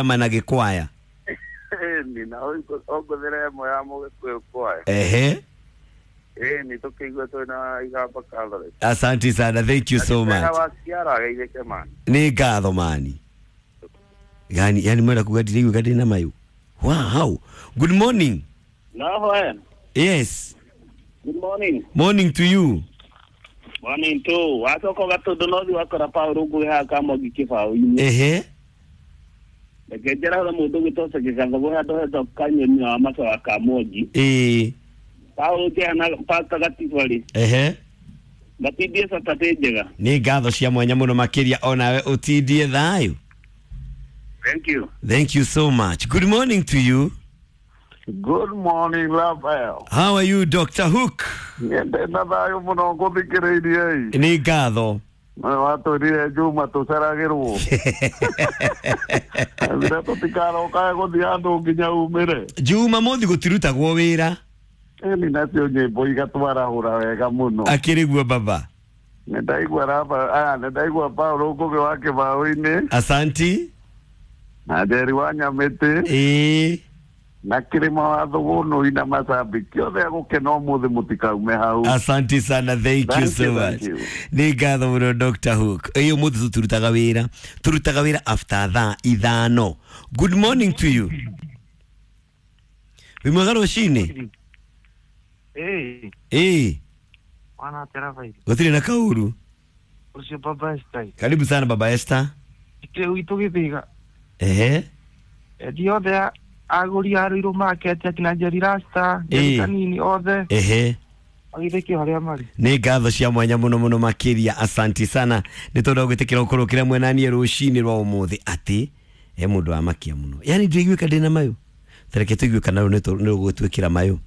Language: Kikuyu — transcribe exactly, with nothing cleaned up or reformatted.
Mana gĩkwaya. Ĩni na ũngũthĩre ĩmwe ya mũgĩkũyũ kwaya. Ehe. Ĩni tũkĩigua twĩna Igamba Catholic. Asante sana, thank you so much. Wa Ciara ageithĩke mani. Nĩ ngatho mani. Yani yani mwenda kuga ndiraigua ndĩ na mayũ. Wow. Good morning. No, eh. Yes. Good morning. Morning to you. Morning too. Wacoka ũgatũndũ no thiĩ wakora Paul Ngũgĩ haha Kamongi kĩbaũ-inĩ. Ehe. Reke njĩra mũndũ ũgwĩtwo Gĩgatho handũ hetagwo Kanyoni wa Macoa Kamongi. Ĩĩ. Paul Njehana Pastor Gatiba-rĩ. Ehe. Gatindie Saturday njega. Nĩ ngatho cia mwanya mũno makĩria onawe ũtindie thayũ. Thank you. Thank you so much. Good morning to you. Good morning, Raphael. How are you, Doctor Hook? Nyende na thayũ mũno ngũthikĩrĩirie ĩ. Nĩ ngatho. Watwĩrire Juma tũceragĩrwo. Thire tũtikarokage gũthiĩ handũ nginya umĩre. Jumamothi gũtirutagwo wĩra. Ĩni nacio nyĩmbo igatwarahũra wega mũno. Akĩrĩ guo baba. Nĩ ndaigua Rafa, aya nĩ ndaigua Paul Ngũgĩ wa kĩbaũ-inĩ Asanti. na Njeri wa Nyamĩtĩ Ĩĩ. na Kĩrĩma wa Thũgũnũi na macambĩki othe agũkena ũmũthĩ mũtikaume hau. Asante sana, thank you Thank so you, much. thank you. Nĩ ngatho mũno Doctor Hook. Ĩĩ ũmũthĩ tũtirutaga wĩra. Tũrutaga wĩra after thaa ithano. Good morning to you. Wĩ mwega rũcinĩ? Ĩĩ, Ĩĩ. wana atĩa Rafael? Gũtirĩ na kaũru. Ũcio Baba Esther. Karibu sana Baba Esther. Ĩkĩrĩ gwitũ Gĩthĩga. Ehe. Endia othe a- agũri a Ruiru Market akina Njeri Rasta, Njeri Ĩĩ. Kanini othe Ehe. magĩthĩkio harĩa marĩ. Nĩ ngatho cia mwanya mũno mũno makĩria, asanti sana nĩ tondũ wa gwĩtĩkĩra gũkorwo ũkĩra mwenanie rũcinĩ rwa ũmũthĩ atĩ he mũndũ wamakia mũno, yani ndiraiguĩka ndĩna mayũ, tareke tũigue kana rũu nĩ rũgũtwĩkĩra mayũ.